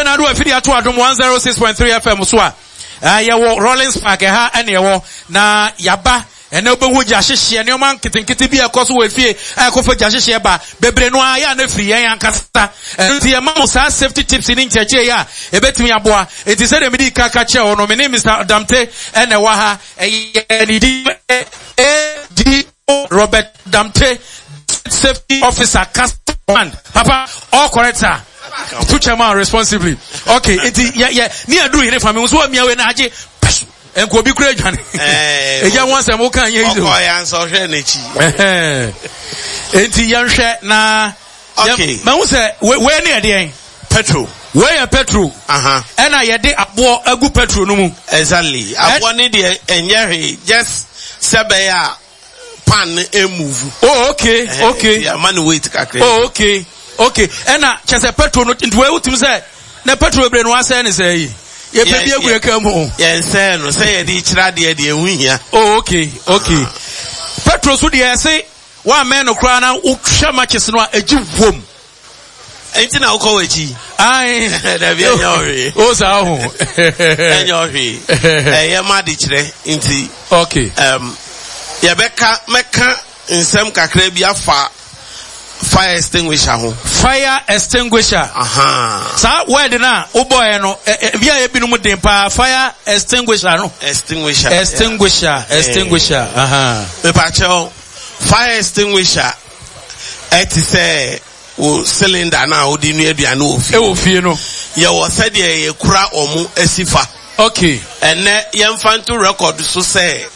na ado afidi ato Adom 106.3 FM so a, yɛwɔ Rollins Park ɛha ɛne ɛwɔ na yaba ɛnɛ wobɛhu gya hyehyeɛ nneɛma nketenkete bi a ɛkɔ so wɔ efie a ɛkɔfa gya hyehyeɛ ba bebree no ara yɛ a na firi yɛn ankasa. Ɛno nti yɛma mo saa safety tips ne nkyerɛkyerɛ yi a ɛbɛtumi aboa. Nti sɛdeɛ mede ka ka kyerɛ wo no, me ne Mr. Damte ɛna ɛwɔ ha. Ɛyɛ ne din A.D.O. Robert Damte, Safety Officer, Customer. Papa, all correct, sir. To chairman responsibly. Okay, nti yɛ yɛ ne aduru hene fa mi nso amia wei na agye pɛsu. Nko obi kura adwane. Egya ho asɛm wo kan yɛ yi. Ɔkɔ ya nso ɔhwɛ n'akyi. Nti yɛnhwɛ na Okay. Mahu sɛ wei ne ɛdeɛn? Petrol. Wei yɛ petrol. Ɛna yɛde aboɔ agu petrol no mu. Exactly. Aboɔ ne deɛ ɛnyɛ hwee just sɛ bɛyɛ a pan no emove. Oh okay okay. Ama no weight kakra. Oh okay okay. Ɛna kyɛ sɛ petrol no nti wei wotumi sɛ na petrol bebree no asɛe ne sɛ yi. Yɛpɛ bi agu yɛ kaa mu. Yɛn sɛɛ no sɛ yɛde kyerɛ adeɛ deɛ ɛho hia. Oh okay okay. Petrol so deɛ ɛse Woammɛn no koraa na wohwɛ matches no a, egye wom. Enti na wokɔ w'akyi. Ae. Dabi ɛnyɛ ɔhwee. O saa ho. Ɛnyɛ ɔhwee. Ɛyɛ ma de kyerɛ nti. Okay. Um, yɛbɛka mɛka nsɛm kakra bi afa fire extinguisher ho. Fire extinguisher. Aha. Saa word na wobɔɛ no, ebi a ebinom den paa fire extinguisher no. Extinguisher. Extinguisher, yeah. Extinguisher. Aha. Mepakyɛw. Fire extinguisher ɛte sɛ wo cylinder no a wode nua aduane wɔ fie. Ɛwɔ fie no. Yɛwɔ sɛdeɛ yɛkura wɔn asi fa. Okay. Ɛnɛ yɛmfa nto record so sɛ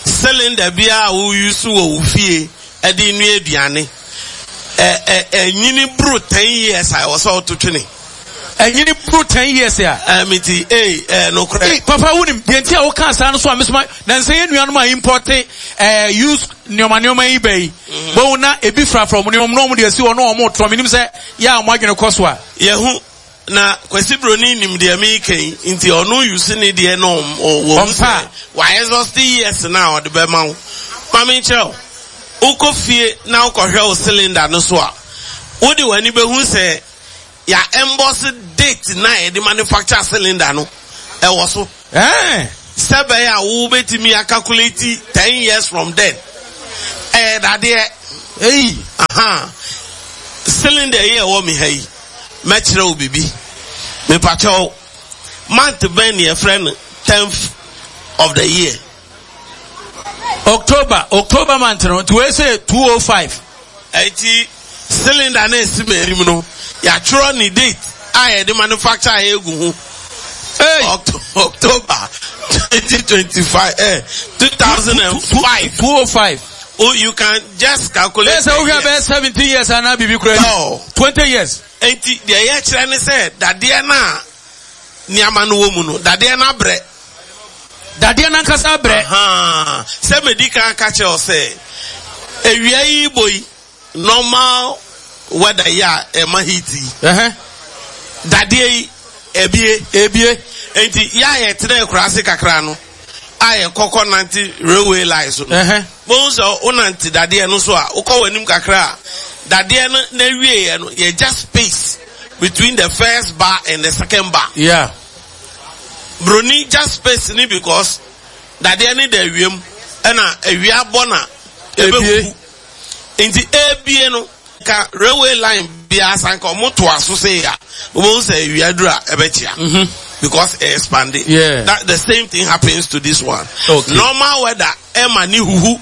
cylinder biara a wo use wɔ wo fie ɛde nua aduane ɛ ɛ ɛnyini boro 10 years a ɛwɔ sɛ woto twene. Ɛnyini boro 10 years a. Ɛɛ mi ti ee ɛɛ nokorɛ. Ee papa wunim deɛ nti a woka saa no so a mesoma na nsɛ yɛn nuanom a importe ɛɛ use nneɛma nneɛma yi bɛ yi. Mm. Bohu na ebi frafra wɔn nneɛma na wɔn de asi hɔ na wɔn retorɔ menim sɛ yɛ a wɔn adwene kɔ so a. Yɛhu na Kwasi Broni nim deɛ meka yi nti ɔno use ne deɛ na ɔwɔ mu sɛ wa exhaust years na ɔde bɛma wo. Ma menkyerɛ wo, wokɔ fie na wokɔhwɛ wo cylinder no so a, wode w'ani bɛhu sɛ Yɛ emboss date no a yɛde manufacture cylinder no ɛwɔ so. Ɛɛ. Sɛ bɛyɛ a wo bɛtumi a calculate 10 years from then. Ɛyɛ dadeɛ. Eyi. Aha. Cylinder yi ɛwɔ me ha yi, mɛkyerɛ wo bibi. Mepakyɛ wo, month bɛn ne yɛfrɛ no 10th of the year? October, October month no, nti wei sɛ 205. Enti cylinder no a esi m'anim no, yɛatwerɛ ne date a yɛde manufacture a egu ho. Hey! October 2025, eh, 2005. 205. Oh, you can just calculate. Bẹ́ẹ̀ sẹ́ wohwɛ bẹ́ẹ̀ 17 years anaa biribi kura ni. 20 years. Enti deɛ yɛkyerɛ ne sɛ dadeɛ no a nneɛma no wɔ mu no, dadeɛ no abrɛ. Dadeɛ no ankasa abrɛ. Sɛ medi kan ka kyerɛ wo sɛ, awia yi bɔ yi, normal weather yi a ɛma heat yi, dadeɛ yi, ebie. Ebie. Enti yɛ a yɛtena akuraase kakra no, a yɛkɔkɔ nante railway line so no, bohu sɛ wonante dadeɛ no so a, wokɔ w'anim kakra a, dadeɛ no n'awieɛ no, yɛgya space between the first bar and the second bar. Yeah. Broni gya space ni because dadeɛ ne da awia mu ɛna awia bɔ na ɛbɛhuhu nti ebie no ka railway line biara sanka ɔmo to aso sɛ ya wobɛhu sɛ awia duru a ɛbɛkyea mhm. because ɛ expand yeah. That the same thing happens to this one. Okay. Normal weather ɛma ne huhu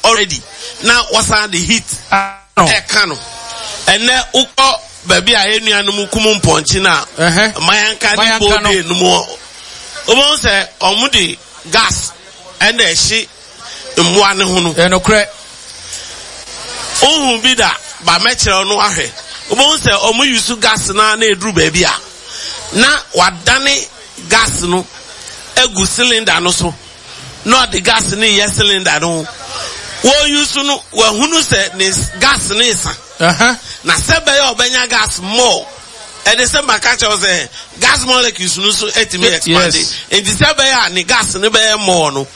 already na wɔsan de heat ɛka no ɛnɛ wokɔ baabi a yɛn nuanom kum mpɔnkye no a mayanka ne bode no mu wobɛhu sɛ ɔmo de gas ɛna ɛhye mmoa no ho no. Ɛnokorɛ. Wohu bi da ba mɛkyerɛw no ahwɛ wobɛhu sɛ ɔmo yusu gas no na ɛduru baabi a na wadane gas no agu cylinder no so na ɔde gas no reyɛ cylinder no ho. Wɔreuse no, wahunu sɛ ne gas no resa. Na sɛ bɛyɛ a ɔbɛnya gas more, ɛde sɛ maka kyerɛ wo sɛ gas molecules no so atumi expand. Nti sɛ bɛyɛ a ne gas no bɛyɛ more no,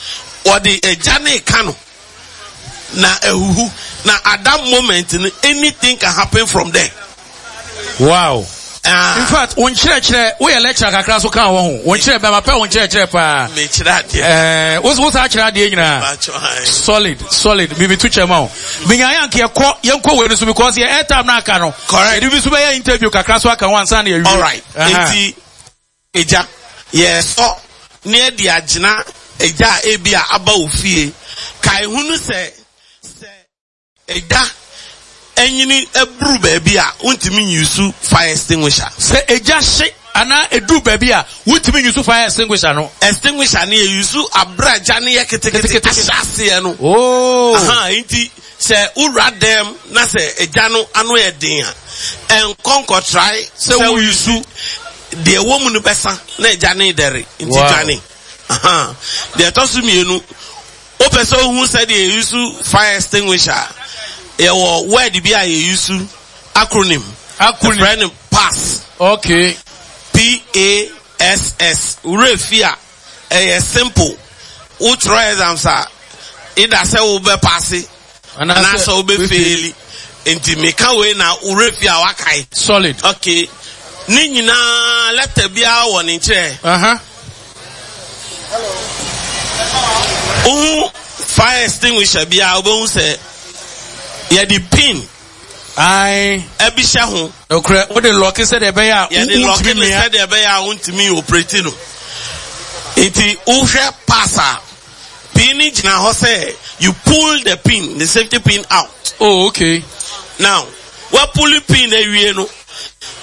wɔde agya no reka no na ahuhu. Na at that moment no, anything can happen from there. Wow. Ah. In fact, wo nkyerɛkyerɛ, woyɛ lecturer kakra so ka wɔ ho. Wo nkyerɛ bɛma pɛ wo nkyerɛkyerɛ paa. Mekyerɛ adeɛ. Eh, wo wo saa kyerɛ adeɛ nyinaa. Solid, solid. Bibi to kyɛ ma wo. Menya yɛ anka yɛkɔ yɛnkɔ wei no so because yɛ airtime na aka no. Correct. Yɛde bi so bɛyɛ interview kakra so aka ho ansa na yɛwie. All right. Enti egya yɛsɔ ne yɛde agyina egya a ebi a aba wo fie. Kae hunu sɛ sɛ Egya nyini buru baabi a, wontumi nyusu fire extinguisher. Sɛ egya hye anaa eduru baabi a, wontumi nyusu fire extinguisher no. Extinguisher no yɛyusu abere a gya no yɛ ketekete ahyɛ aseɛ no. Oh. Aha, nti sɛ wowura dɛm na sɛ egya no ano yɛ den a, ɛnkɔ nkɔtrae sɛ woyusu deɛ ɛwɔ mu no bɛsa na egya no redɛre nti dwane. Aha, deɛ ɛtɔ so mmienu, Wopɛ sɛ wohu sɛdeɛ yɛyusu fire extinguisher a, yɛwɔ word bi a yɛyusu, acronym. Acronym. Yɛfrɛ no PASS. Okay. P-A-S-S. Wo werɛ fi a, ɛyɛ simple. Wotwerɛ exams a, either sɛ wobɛpaase anaasɛ wobɛfeeli. Nti meka wei na wo werɛ fi a woakae. Solid. Okay. Ne nyinaa lɛtɛ biara wɔ ne nkyerɛ. Uh -huh. Wohu fire extinguisher bi a wobɛhu sɛ yɛde pin Ae. ɛbi hyɛ ho. Nokorɛ, wode lɔke sɛdeɛ ɛbɛyɛ a Yɛde lɔke wontumi no mmia. sɛdeɛ ɛbɛyɛ a wontumi operate no. Nti wohwɛ pass a, pin no gyina hɔ sɛ you pull the pin, the safety pin out. Oh, okay. Now, woapulli pin no awie no,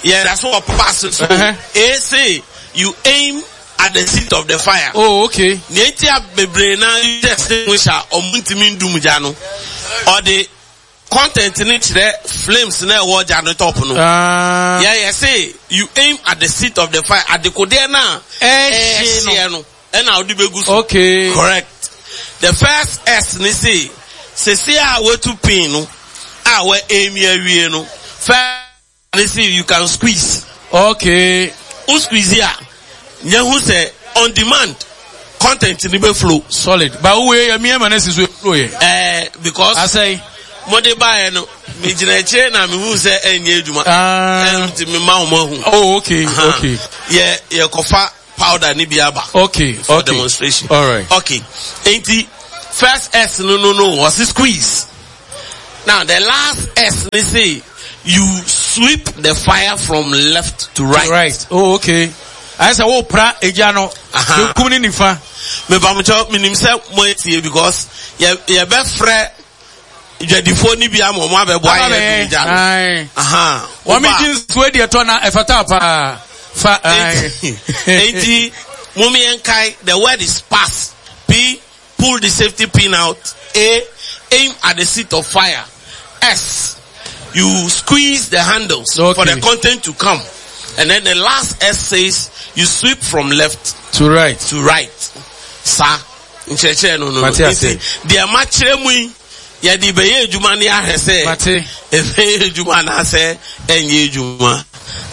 yɛda so wɔ pass so. Uh-huh. A say you aim at the seat of the fire. Oh, okay. Nea enti a bebree na use extinguisher a ɔmo ntumi ndum gya no, ɔde content no kyerɛ flames na ɛwɔ gya no top no. Ah. Yɛ yɛ se you aim at the seat of the fire adekodeɛ no a ɛhyeɛ no ɛna ɔde begu so. Okay. Correct. The first S ne se sese a watu pin no a wɔ aim awie no first Ne se you can squeeze. Okay. Wo squeeze a, nya hu sɛ on demand content ni bɛ flow. Solid. Ba wo yɛ mi ɛma ne si so flow yɛ. Ɛɛ eh, because. Asɛyi. Mo de ba yɛ no, me gyina akyire na me hu sɛ ɛnyɛ adwuma. Ah. Ɛnti me ma wɔn ahu. Oh okay okay. Yɛ yɛ kɔfa powder ni bi aba. Okay for okay. demonstration. All right. Okay. Enti first S no no no wɔsi squeeze. Now the last S ne say you sweep the fire from left to right. Right. Oh okay. Ayɛ sɛ wo pra egya no. Benkum ne nifa. Mepamokyɛw menim sɛ mo etie because yɛ yɛbɛfrɛ dwadifoɔ no bi ama wɔn abɛboa yɛ dum gya no. Wɔn mi gye nsuo deɛ tɔ na ɛfata paa. Fa. Enti mo mi yɛn kae the word is pass. P Pull the safety pin out. A. Aim at the seat of fire. S. You squeeze the handles okay. for the content to come. And then the last S says you sweep from left to right. To right. Sa. Nkyerɛkyerɛ no no. Nti deɛ makyerɛ mu yi yɛde bɛyɛ adwuma ne ahwɛ sɛ ɛbɛyɛ adwuma anaasɛ ɛnyɛ adwuma.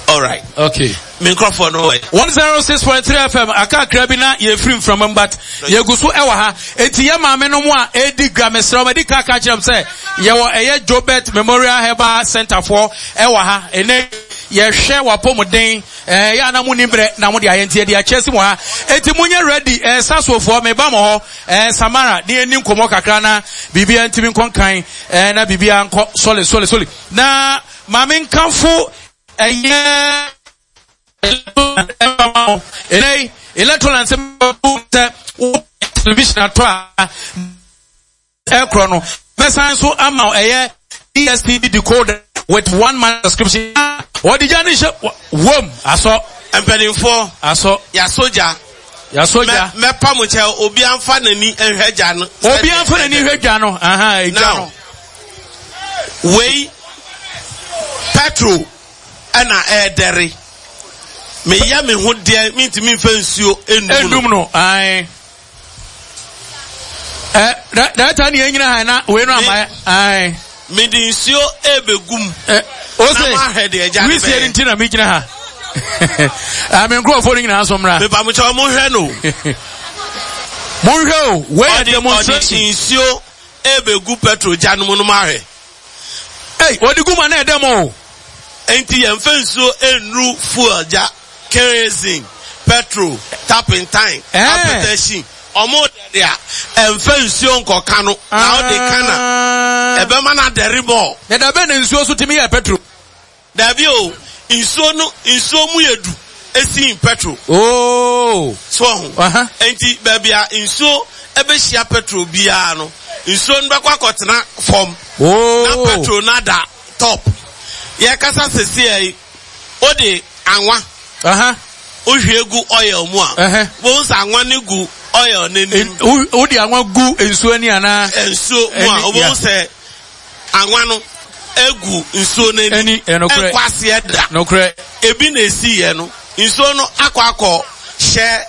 All right. Okay. Me nkurɔfoɔ no wɔ. 106.3 FM akakra bi na yɛfiri mframa mu but yɛgu so ɛwɔ ha. Enti yɛ maame no mu a ɛredi dwa mesrɛ wɔn adi ka ka kyerɛ m sɛ yɛwɔ ɛyɛ Jobert Memorial Herbal Center foɔ ɛwɔ ha. Ɛnɛ yɛhwɛ wapɔmuden ɛɛ yɛ ana mo ni brɛ na mo de ayɛ nti yɛde akyɛ si mo ha. Enti mo nyɛ ready ɛɛ sasofoɔ meba mo hɔ ɛɛ Samara ne yɛni nkɔmɔ kakra na biribiara ntumi nkɔ nkan ɛɛ na biribiara nkɔ sɔle sɔle sɔle na maame nkanfo Ɛyɛ ɛnɛ yi electoral nsɛm sɛ wo television ato a ɛkorɔ no mɛsan so ama ɛyɛ DSTV decoder with one month subscription wɔde gya ne hyɛ wɔm asɔ. Mpanimfoɔ asɔ. Yasɔ gya. Yasɔ gya. Mɛpa mo kyɛw obi anfa n'ani nhwɛ gya no. Obi anfa n'ani nhwɛ gya no. Aha egya no. Wei petrol ɛna ɛɛdɛre. Meyɛ me ho deɛ mentumi nfa nsuo enum no. Enum no ae. Ɛ dɛta ne yɛn nyina ha na wei no ama ae. Mede nsuo ɛɛbɛgu mu. Ɛ ose Na mahwɛ deɛ agya no wisie bɛyɛ. nti na megyina ha. Ame nkurɔfoɔ no nyinaa nso mmra. Mepamokyɛw monhwɛ no. Monhwɛ o wei yɛ Ɔde ɔde demonstration. nsuo ɛrebɛgu petrol gya no mu no mahwɛ. Ei, wɔde gu mu a na ɛdɛm o. Enti yɛmfa nsuo nnuru fuel gya, kerosene, petrol, turpentine, apɛtɛhyin. Ɔmo dɛre a, ɛmfa nsuo nkɔka no, na wode ka na ɛbɛma no adɛre more. Na da bɛn na nsuo nso tumi yɛ petrol? Dabi o, nsuo no, nsuo mu yɛ du sin petrol. Oh. So ɔho? Enti baabi a nsuo ɛbɛhyia petrol biara no, nsuo no bɛkɔ akɔtena fam. Oh. Na petrol no ada top. Yɛkasa seseɛ yi, wode anwa. Wohwie gu oil mu a, wohu sɛ anwa no gu oil no anim. Wode anwa gu nsuo ani anaa? Nsuo mu a, wobɛhu sɛ anwa no egu nsuo no ani. Ɛnkɔ aseɛ da. Nokorɛ. Ebi na esi yɛ no, nsuo no akɔ akɔ hyɛ.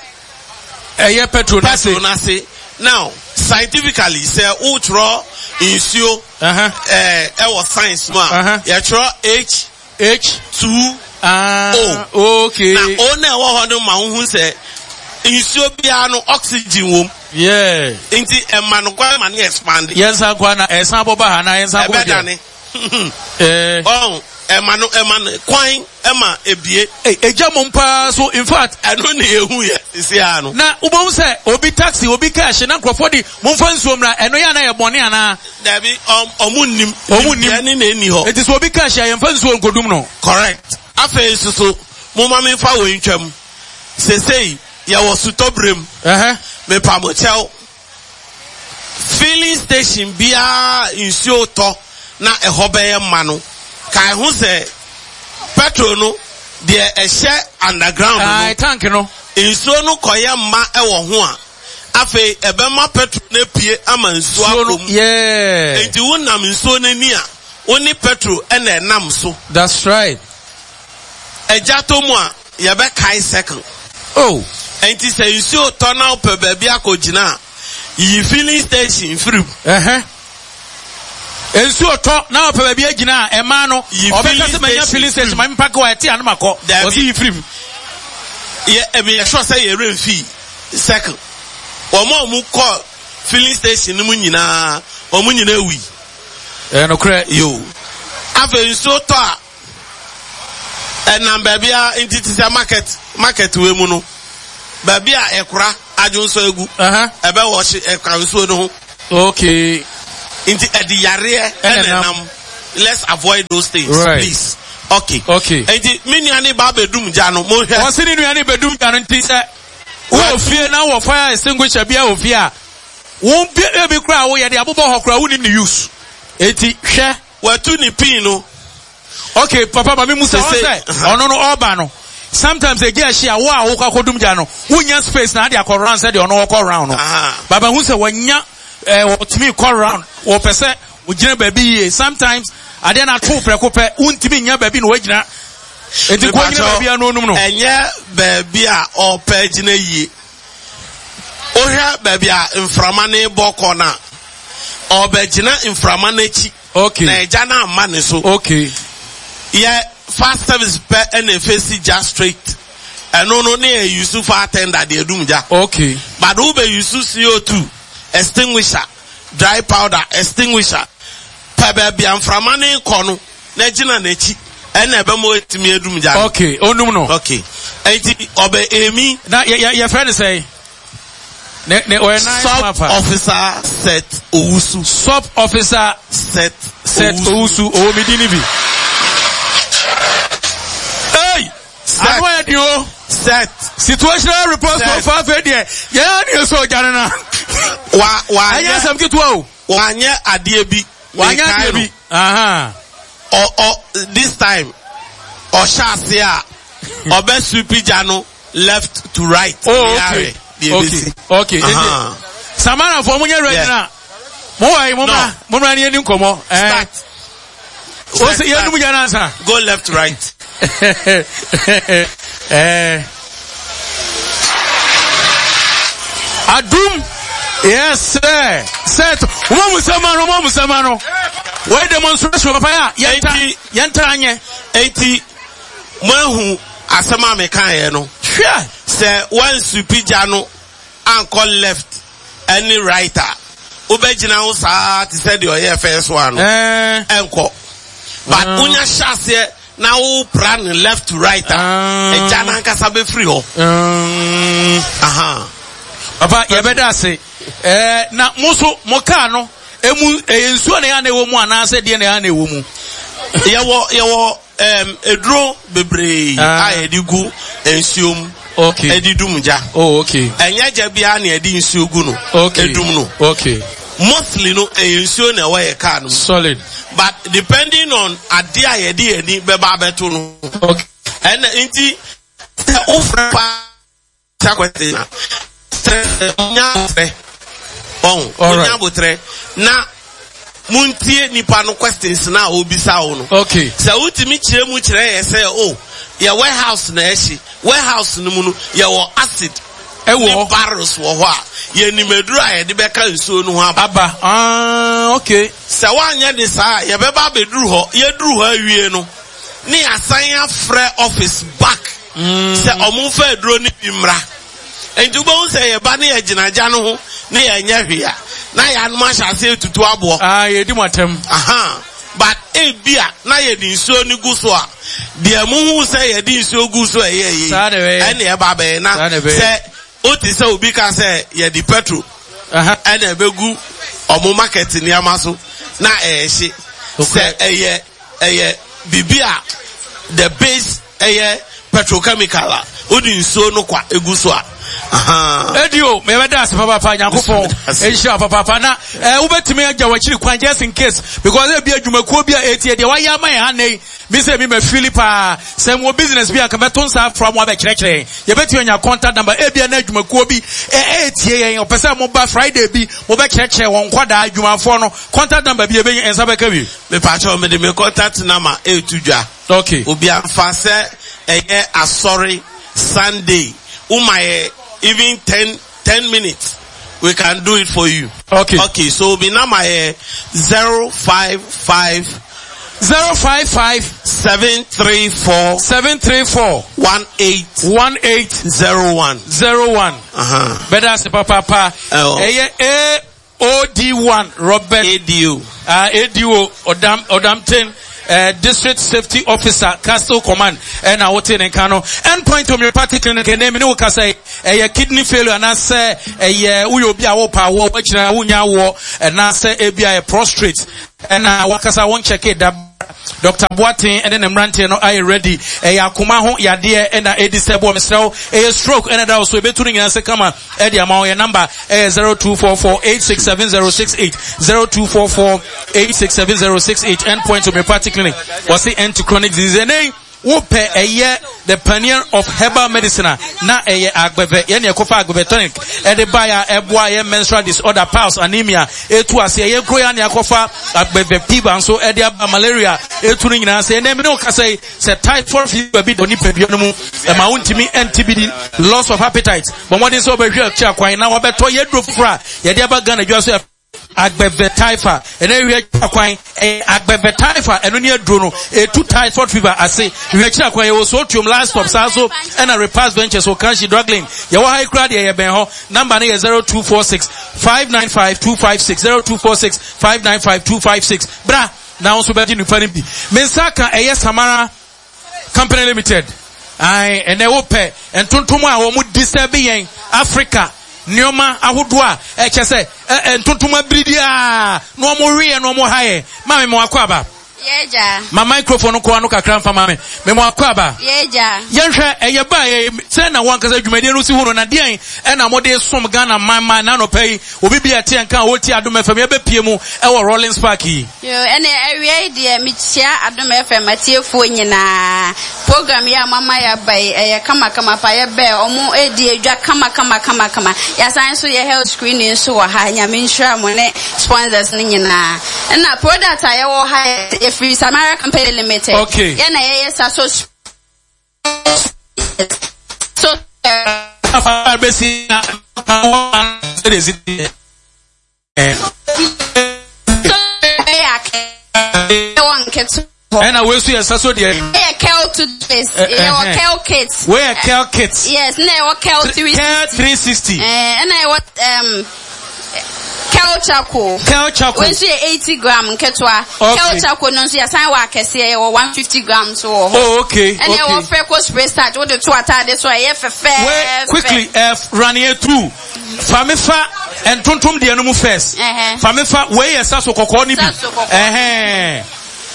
Ɛyɛ petrol n'ase. Petrol n'ase. Now, scientifically, sɛ wotwerɛ nsuo ɛwɔ science mu a, yɛtwerɛ H. H. 2 Ah, O. Okay. Na O na ɛwɔ hɔ no ma wohu sɛ nsuo biara no oxygen wom. Yeah. Nti ɛma no kwan ma no expand. Yɛn nsa kwan na ɛsan bɔ ba ha na yɛn nsa kɔ Ɛbɛdane. Eh. Ɔn, ɛma no ɛma no kwan ɛma ebie. Hey, egya mom paa so in fact. Ɛno na ehu yɛ sisi ara no. Na wobɛhu sɛ obi taxi obi car hye na nkurɔfoɔ de momfa nsuo mmra ɛno yɛ ana yɛ bɔne anaa. Dabi ɔmo nnim. Ɔmo nnim. Nimdeɛ ne na enni hɔ. Enti sɛ obi car hye a yɛmfa nsuo nkodum no. Correct. Afei nso so momma memfa wei ntwam. Sesei yɛwɔ sutɔberɛ mu. Ɛhɛ. Mepa mo kyɛw. Filling station biara nsuo tɔ na ɛhɔ bɛyɛ ma no, kae ho sɛ petrol no deɛ ɛhyɛ underground no, Ae, tank no. nsuo no kɔyɛ ma wɔ ho a, afei ɛbɛma petrol no apue ama nsuo Nsuo no, akɔ mu. yeah. Enti wonam nsuo no ani a, wo ne petrol na ɛnam so. That's right. Agya tɔ mu a, yɛbɛkae circle. Oh. Enti sɛ nsuo tɔ na wopɛ baabi akɔgyina a, yi filling station firi mu. Ɛhɛ. Nsuo tɔ na wopɛ baabi agyina a, ɛmaa no, Yi ɔbɛka filling sɛ manya station filling station, firi mu. ma mempa kɔ a, ɛte a na makɔ. Dabi. Ɔse yi firi mu. Yɛ, meyɛ sure sɛ yɛn werɛ mfii circle. Wɔn a wɔkɔ filling station no mu nyinaa, wɔn nyinaa wui. Ɛyɛ nokorɛ. Yo. Afei nsuo tɔ a, ɛnam baabi a nti te sɛ market market wei mu no baabi a ɛkora adwonsɔ egu ɛbɛ wɔhye ɛka nsuo no ho. Okay. Nti ɛde yareɛ ɛna ɛnam let's avoid those things right. please. Okay. Okay. Nti me nua ne ba abɛdum gya no mo hwɛ. Wɔsi ne nua ne bɛdum gya no nti sɛ wɔ fie na wɔ fire extinguisher bi a wɔ fie a wɔn bi ebi koraa woyɛ de abobɔ hɔ koraa wonim ne use. Eti hwɛ. Watu ne pin no. Okay, papa ma me musa wɔn sɛ ɔno no ɔba no sometimes egya ɛhye a wo a wokɔ akɔdum gya no wonya space na ade akɔ round sɛdeɛ ɔno ɔkɔ round no baba hu sɛ wɔnya ɛɛ wɔtumi kɔ round wɔpɛ sɛ wɔgyina baabi yie sometimes adeɛ no ato prɛko pɛ wontumi nya baabi na wɔagyina eti kɔ gyina baabi a no onum no. Ɛnyɛ baabi a ɔpɛ gyina yie. Wohwɛ baabi a mframa no rebɔ kɔ no a, ɔrebɛgyina mframa no akyi. Okay. Na agya no amma ne so. Okay. Yɛ fire service pɛ ɛna efesi gya straight. Ɛno no ne yɛ use fire tender de adum gya. Okay. But wo bɛ use CO2 extinguisher, dry powder extinguisher. Pɛ baabi a mframa no rekɔ no. Na gyina n'akyi ɛna ɛbɛma watumi adum gya no. Okay, onum no. Okay. Enti ɔbɛ emi. Na yɛ yɛ yɛfrɛ no sɛn? Ne ne ɔyɛ nine Sub mafa. officer Seth Owusu. Sub officer Seth Seth Owusu owó mi di ni bi. Hey! Seth. Ano yɛ di o. Seth. Situational report so Seth. far afei deɛ yɛn ani sɔ ɔgya no na. Wa wa Ɛnyɛ asɛm ketewa o. Wanyɛ adeɛ bi. Wanyɛ adeɛ bi. Aha. Ɔ ɔ this time ɔhyɛ ase a ɔbɛ sweep gya no left to right. Oh okay. Okay. Okay. Uh-huh. Samara fo mo nyɛ ready na. Mo wɔ yi mo ma mo ma ni yɛ ni nkɔmɔ. Eh. Start. O se yɛ numu gya na nsa. Go left right. Eh. Adum. Yes sir. Set. Mo mu sɛma no, mo mu sɛma no. Wei demonstration papa ya. Yɛnta yɛnta anyɛ. Enti mo ahu asɛm a mekaeɛ no. Hwɛ. Sɛ wansupi gya no ankɔ left ɛne right a, wobɛgyina ho saa te sɛ deɛ ɔyɛɛ first one no. Eh. Ɛnkɔ. But Ah. wonya hyɛ aseɛ. na wopra no left to right a, Ah. ɛgya no ankasa bɛfiri hɔ. Aha. Papa, yɛbɛda ase. Ɛɛ, na mo nso, mo kaa no, emu, ɛyɛ nsuo na ɛyɛ na ɛwɔ mu anaasɛ deɛ na ɛyɛ na ɛwɔ mu? Yɛwɔ, yɛwɔ um, eduro bebree Ah. a yɛde gu nsuo mu. Okay. Ɛde dum gya. Oh, okay. Ɛnyɛ gya biara na yɛde nsuo gu no. Okay. Edum no. Okay. Mostly no, ɛyɛ nsuo na ɛwɔ yɛ kaa no mu. Solid. But depending on adeɛ a yɛde yɛn ani bɛba abɛto no. Okay. Ɛna nti sɛ wofrɛ paa sa question a sɛ munya abotrɛ ɔn munya abotrɛ na muntie nipa no questions na obisa wo no. Okay. Sɛ wotumi kyerɛ mu kyerɛ yɛ sɛ o oh, yɛ warehouse na ɛhye warehouse no mu no yɛwɔ acid ɛwɔ ne barrels wɔ hɔ a yɛnim aduru a yɛde bɛka nsuo no ho aba. Aba ah okay. Sɛ woanyɛ ne saa a yɛbɛba abɛduru hɔ yɛduru hɔ awie no ne yɛasan afrɛ office back. Sɛ ɔmo nfa aduro no bi mmra. Nti wobɛhu sɛ yɛba ne yɛgyina gya no ho ne yɛnyɛ hwee a, na yɛanom ahyɛ ase etutu aboɔ. Ah, yɛdi mo atɛm. Aha. But ebia na yɛde nsuo no gu so a, deɛ muhu sɛ yɛde nsuo gu so ɛyɛ yie. Saa na ɛbɛyɛ. Ɛne ɛba bɛyɛ na Saa na ɛbɛyɛ. sɛ wote sɛ obi ka sɛ yɛde petrol Aha. ɛna ɛbɛgu ɔmo market nneɛma so na ɛɛhye. Sɛ ɛyɛ ɛyɛ biribi a the base Ɛyɛ petrochemical a wode nsuo no kwa egu so a. Ahaa. Edi o, mebɛda ase papaapa, Nyankopɔn nhyira wo papaapa. Na eh, wobɛtumi agya w'akyiri kwan just in case, because ebi adwumakuo bi a etie deɛ wayɛ ama yɛn ha nnɛ yi, me sɛ mi ma fili paa. Sɛ mewɔ business bi a nka mɛto nsa afra mo abɛkyerɛkyerɛ yɛn. Yɛbɛtumi anya contact number, ebia na adwumakuo bi ɛɛtie yɛn, ɔpɛ sɛ moba Friday bi, mobɛkyerɛkyerɛ wɔn nkwadaa adwumafoɔ no, contact number bi yɛbɛnya, nsa bɛka bi. Mepakyɛw mede me contact number ɛreto dwa. Okay. Obia nfa sɛ ɛyɛ asɔre Sunday woma yɛ even ten minutes we can do it for you. Okay. Okay so mi number yɛ 055. 055. 734. 734. 18. 18. 01. 01. Uh-huh. Bɛda ase papaapa. Ɛyɛ A OD1 Robert ADO. ADO Odam Odamten eh, District Safety Officer Castle Command ɛna wote ne nka no. Endpoint Homeopathic Clinic ɛnɛ mi ne wo kasa yi ɛyɛ kidney failure anaasɛ ɛyɛ woyɛ obi a wopa awoɔ wakyina wonya awoɔ anaasɛ ebi a yɛ prostrate ɛna wakasa wɔn kyɛke da Dr. Boateng ɛne ne mmeranteɛ no ayɛ ready. Ɛyɛ akoma ho yadeɛ ɛna ɛdi sɛ boɔ mesrɛ wo. Ɛyɛ stroke ɛna ɛda wo so ɛbɛtu no nyinaa sɛ kama ɛde ama wo. Yɛ number ɛyɛ 0244867068 0244867068 Endpoint Homeopathic Clinic. Wɔse end to chronic disease. Ɛnɛ yi wopɛ ɛyɛ the pioneer of herbal medicine a na ɛyɛ agbɛvɛ yɛne ɛkɔfa agbɛvɛ tonic ɛde baeɛ a ɛboa yɛ menstrual disorder piles anemia ɛtu aseɛ yɛn kuro yɛ ne akɔfa agbɛvɛ fever nso ɛde aba malaria ɛtu no nyinaa sɛ ɛnɛ mene wo kasa yi sɛ typhoid fever bi da onipadua no mu ɛma wontumi ɛnte bi di loss of appetite bɔ mmɔden sɛ wobɛhwɛ akyi akwan na wabɛtɔ yɛduro foforɔ a yɛde aba Ghana dwa so agbɛvɛ typha ɛnɛ hwɛ akyi akwan ɛyɛ agbɛvɛ typha ɛno ne aduro no ɛtu typhoid fever ase hwɛ akyi akwan yɛwɔ sotuom last stop saa so ɛna repass ventures okanshi druglin yɛwɔ ha yi koraa deɛ yɛbɛn hɔ number no yɛ 0246 595 256 0246 595 256 bra na wo nso bɛgye nipa no bi me nsa ka ɛyɛ Samara Company Limited ae ɛnɛ wopɛ ntontom a wɔn di sɛ bi yɛn Africa nneɛma ahodoɔ a ɛkyɛ sɛ ntontom abiridi a na wɔn weɛ na wɔn ha yɛ maame mo akɔ aba. Yɛgya. Ma microphone no kɔ ano kakra nfa ma me. Me mo akɔ aba. Yɛgya. Yɛnhwɛ ɛyɛ ba yɛ sɛ na wɔn ankasa dwumadie no si hu no na deɛn ɛna mo de som Ghana man man na anɔpa yi obi bi a ɛte nka a wɔtie Adom FM yɛbɛpie mu ɛwɔ Rawlings Park yi. Yoo, ɛne awia yi deɛ mekyia Adom FM atiefoɔ nyinaa. Program yi a moama yɛaba yi, ɛyɛ kama kama pa. Yɛbɛɛ, ɔmo redi adwa kama kama kama kama. Yɛasan nso yɛ health screening nso wɔ ha. Nyame nhyira mo ne sponsors no nyinaa. Ɛna product a yɛwɔ ha yɛ, yɛfiri Samara Company Limited. Okay. Yɛn na yɛyɛ Saso so Bɛsi na ɛna wei nso yɛ nsa so deɛ. Ɛyɛ kel toothpaste. Ɛwɔ kel kit. Wei yɛ kel kit. Yes, na ɛwɔ kel 360. Kel 360. Ɛna ɛwɔ. Kel charcoal. Kel charcoal. Wei nso yɛ 80 gram nketewa. Okay. Kel charcoal no nso yɛsan wɔ akɛseɛ yɛwɔ 150 gram nso wɔ hɔ. Oh, okay. Ɛna okay. ɛwɔ Freco spray starch wode to ataade so a ɛyɛ fɛfɛɛfɛ. Wei quickly run it through. Fa me fa ntontom deɛ no mu first. Fa me fa wei yɛ saso kɔkɔɔ no bi. Saso kɔkɔɔ. Ɛhɛn.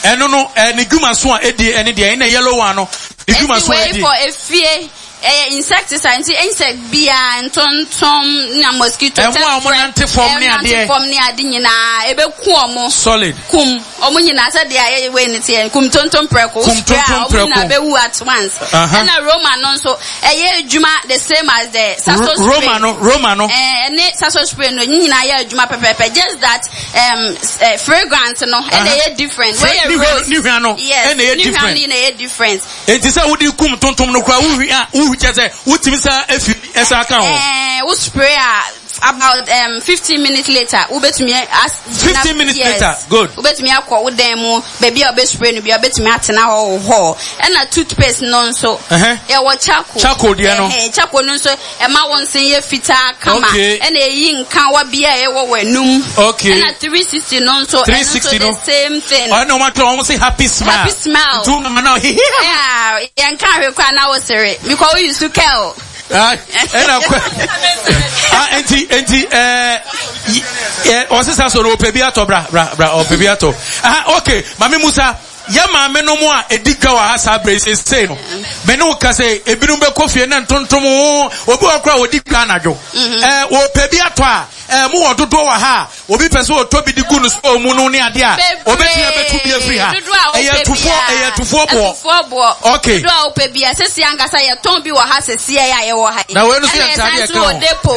Ɛno no ne dwuma so a ɛdie ɛne deɛ ɛna yellow one no ne dwuma so a Eti ɛdie. wei for efie ɛyɛ insecticide nti insect biara ntontom na mosquito Ɛmo a wɔn nante fam ne nante adeɛ. fam ne ade nyinaa ebeku wɔn. Solid. Kum wɔn nyinaa sɛdeɛ ayɛ wei ne teɛ kum tontom prɛko. Kum Spray a tontom wɔn nyinaa prɛko. bɛwu at once. Aha. Ɛna Roma no nso ɛyɛ adwuma the same as the saso spray. Roma no Roma no. Ɛɛ ɛne saso spray no ne nyinaa yɛ adwuma pɛpɛɛpɛ just that um, eh, fragrance no ɛna ɛyɛ different. Wei yɛ rose. Ne hwa no yes ɛna ɛyɛ ne hwa different. no na ɛyɛ different. Enti sɛ wode kum tontom no koraa wohwi a wohwi kyɛ sɛ wotumi sa efi ɛsa ka ho. Ɛɛ wo spray a about um, 15 minutes later wobɛtumi as 15 minutes yes. later good. Wobɛtumi akɔ wo dan mu baabi a wobɛ spray no bi a wobɛtumi atena hɔ wɔ hɔ ɛna toothpaste no nso yɛwɔ charcoal. Charcoal deɛ no. Ɛhɛn charcoal no nso ɛma wo nse yɛ fitaa kama Okay. ɛna ɛyi nkawa bi a ɛwɔ w'anum. Okay. Ɛna 360 no nso ɛno nso 360 the no. same thing. Ɔno na wɔn atwerɛ wɔn se happy smile. Happy smile. Nti wo mama na ɔhehe. Yeah, yɛn ka ahwɛ koraa na wosere because wo use curl. Ah, ɛna kɔ ah nti nti ɛɛ ɛ ɔsesa so no ɔpɛ bi atɔ bra bra bra ɔpɛ bi atɔ ah okay maame musa yɛ maame no mu a edi dwa wɔ ha saa bere sese no mɛ ne wo ka sɛ ebinom bɛkɔ fie na ntontom obi wɔ kora wɔdi dwa anadwo ɛɛ ɔpɛ bi atɔ a ɛɛ mo wɔ dodoɔ wɔ ha a Obi pɛ sɛ ɔtɔ bi de gu no store mu no ne adeɛ a, obetumi abɛtu bi afiri ha. Ɛyɛ atufoɔ, ɛyɛ atufoɔ boɔ. Atufoɔ boɔ. Okay. Dodoɔ a wopɛ bia, sɛsi ankasa yɛtɔn bi wɔ ha sɛsi a yɛwɔ ha yi. Na wei no so yɛ ntaade ɛka ho. Ɛna yɛsan so wɔ depo.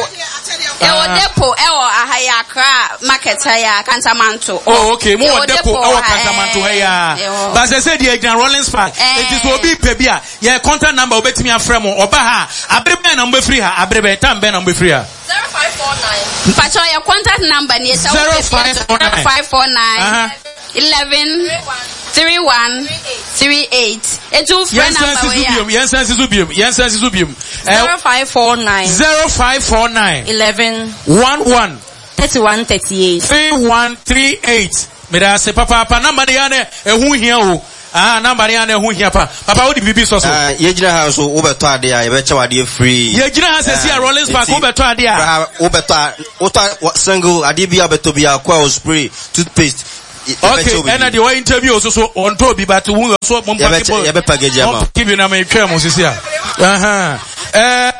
Yɛwɔ Ah. depo ɛwɔ aha yi Accra market ha yi a, Kantamanto. Oh, okay. Mo wɔ Yɛwɔ depo ɛwɔ ha, Kantamanto ha yi a. yɛwɔ. Ba sɛ sɛ deɛ gyina Rollins Park. Eh. Eti sɛ obi pɛ bi a, yɛ contact number obetumi afrɛ mo. Ɔba ha a, abere bɛn na mobɛfiri ha? Abere bɛn, time bɛn na mobɛfiri ha? 0549. Mpakyɛw yɛ contact number ni sɛ wopɛ 0549 11 31 38. Etu frɛ number wei a. Yɛn san si so biom. Yɛn san si so biom. 0549. 0549. 11. 11. 31 38. 31 38. Meda ase papaapa number no yɛ na ɛho hia o. Ah, number no yɛ na ɛho hia pa. Papa wode biribi sɔ so. Ah, yɛgyina ha nso wobɛtɔ adeɛ a yɛbɛkyɛ wo adeɛ free. Yɛgyina ha sɛsi a Rollins Park wobɛtɔ adeɛ a. Wobɛtɔ a wotɔ single adeɛ bi a wobɛtɔ bi a coil spray toothpaste. Okay, ɛna deɛ wɔyɛ interview so so ɔntɔ obi but wo so mo mpaki bɔ yɛbɛ package ama. Mo mpaki bi na metwɛn mo sisi a. Ɛɛ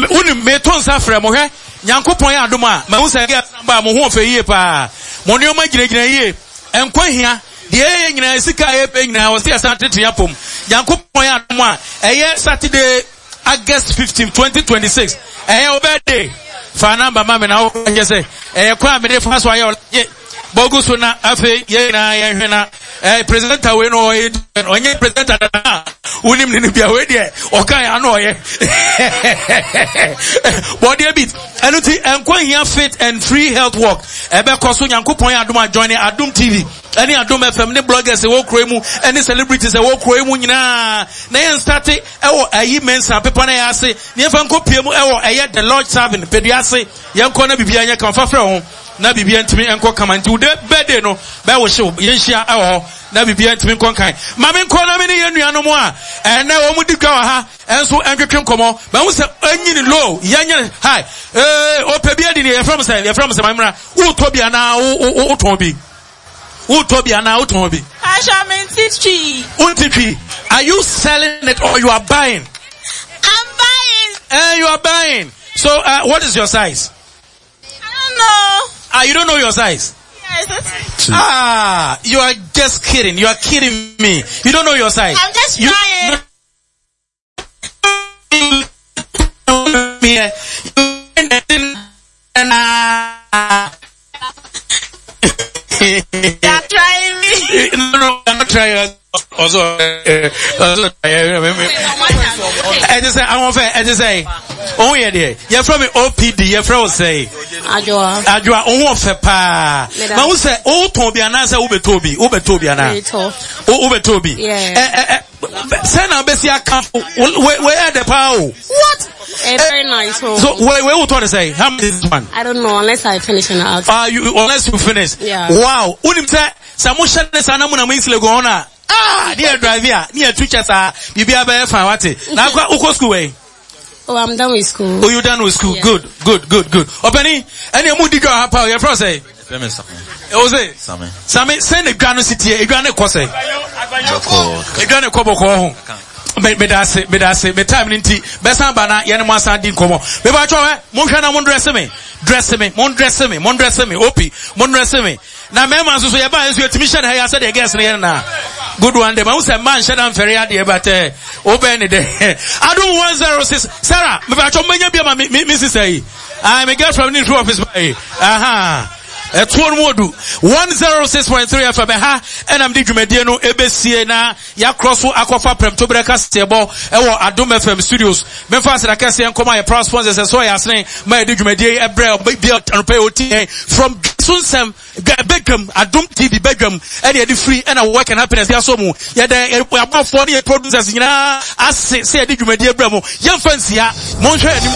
wonim meto nsa frɛ mo hwɛ Nyankopɔn yɛ adom a, mahu sɛ girls no ba a, mo ho ɔfɛ yie paa. Mo nneɛma gyinagyina yie. Nkwa hia. Deɛ yɛyɛ nyinaa, sika a yɛpɛ nyinaa, ɔsɛ yɛsan tete apom. Nyankopɔn yɛ adom a, ɛyɛ Saturday, August 15, 2026. Ɛyɛ wo birthday. Fa number ma me na wo kyɛ sɛ, ɛyɛ kwan a mede fa so ayɛ ɔlagye. Bɔgu so na afei yɛn nyinaa yɛnhwɛ na eh, presenter wei no ɔyɛ ɔnyɛ presenter dada a wonim ne no bia wei deɛ ɔka yɛ ano ɔyɛ bɔdeɛ bi ɛno nti nkwa hia fit and free health work ɛbɛkɔ so nyankopɔn yɛ adom adjoin adom tv ɛne adom fm ne bloggers ɛwɔ kuro mu ɛne celebrities ɛwɔ kuro mu nyinaa na yɛn starte ɛwɔ ayi mensa pepa na yɛ ase ne yɛmfa nkɔ pie mu ɛwɔ ɛyɛ the lodge serving pedua ase yɛnkɔ na biribiara nyɛ kama fa frɛ ho na biribiara ntumi nkɔ kama nti wo de birthday no bɛwo hyew yɛnhyia ɛwɔ hɔ na biribiara ntumi nkɔ nkan ma me nkɔ na me ne yɛn nuanom a ɛnɛ wɔn di dwa wɔ ha ɛnso ɛntwetwe nkɔmɔ mahu sɛ ɛnyini low yɛnyɛ hi ee ɔpɛ bi adi ne yɛfrɛ mo sɛ yɛfrɛ mo sɛ mamra wotɔ bi anaa wotɔn bi wotɔ bi anaa wotɔn bi. Aṣọ mi ti twi. Wonti twi. Are you selling it or you are buying? I'm buying. Eh, you are buying. So, uh, what is your size? I don't know. Ah, you don't know your size? Yes. Ah, you are just kidding. You are kidding me. You don't know your size. I'm just you, trying. You are trying me. No, no, I'm not trying. Also, also, ɛte sɛ ahoɔfɛ ɛte sɛ ohun yɛ deɛ yɛfrɛ mi opd yɛfrɛ wo sɛ Adwoa. Adwoa ohun ɔfɛ paa ma wo sɛ wotɔn bi anaasɛ wobɛtɔ bi wobɛtɔ bi anaa wobɛtɔ bi ɛ ɛ ɛ sɛ na wobɛsi aka wei ɛdɛ paa o what. Eh, very nice. Oh. So wait, wait, what to say? How much is this one? I don't know unless I finish and out. You, unless you finish. Yeah. Wow. Unim sɛ sɛ mo hyɛ ne saa na mo na mo nsile go on a. Ah, ne yɛ drive a, ne yɛ tu kyɛ saa. Biribi abɛyɛ fine wate. Na akɔ ukɔ school wei. Oh, I'm done with school. Oh, you done with school? Yeah. Good, good, good, good. Ɔpɛni, ɛni emu di dwa ha pa o, yɛ fɛ sɛ. Yɛfrɛ me Same. Ɛwɔ sɛ. Same. Same, sɛn na edwa no si tie? Edwa no kɔ sɛ. Bɔkɔɔ. Edwa no kɔ bɔkɔɔ ho. Me me da ase, me da ase, me time no nti, bɛsan ba na yɛne mo asan di nkɔmɔ. Me ba twɛ hɛ, monhwɛ na mo ndrɛse me, drɛse me, mo ndrɛse me, mo ndrɛse me, opi, mo ndrɛse me. Na mmarima nso so yɛbaa nso yɛtumi hyɛ no ha yi asɛ deɛ girls no yɛ no na. Good one de, mahu sɛ mmaa nhyɛ da mfɛre adeɛ but eh, wobɛn ne dɛ. Adom 106, Sarah, me ba twɛ mo bɛnya bi ama me me me sister yi. Ah, me girlfriend ne through office ba yi. Aha. Ɛtoɔ no mu odu. 106.3 FM ɛha ɛna mede dwumadie no ɛbɛsie na yɛakorɔ so akɔfa prɛmtoberɛ kaseɛbɔ ɛwɔ Adom FM studios. Memfa aseda kɛseɛ nkɔma yɛ proud sponsors ɛsɔ yɛ asene ma yɛde dwumadie yi ɛbrɛ bi anɔpa yi ɔti yɛn from so nsɛm badwam Adom TV badwam ɛne yɛde firi ɛna work and happiness yɛasɔ mu yɛdɛ yɛabɔfoɔ ne yɛ producers nyinaa ase sɛ yɛde dwumadie brɛ mo yɛmfa nsia monhwɛ anim.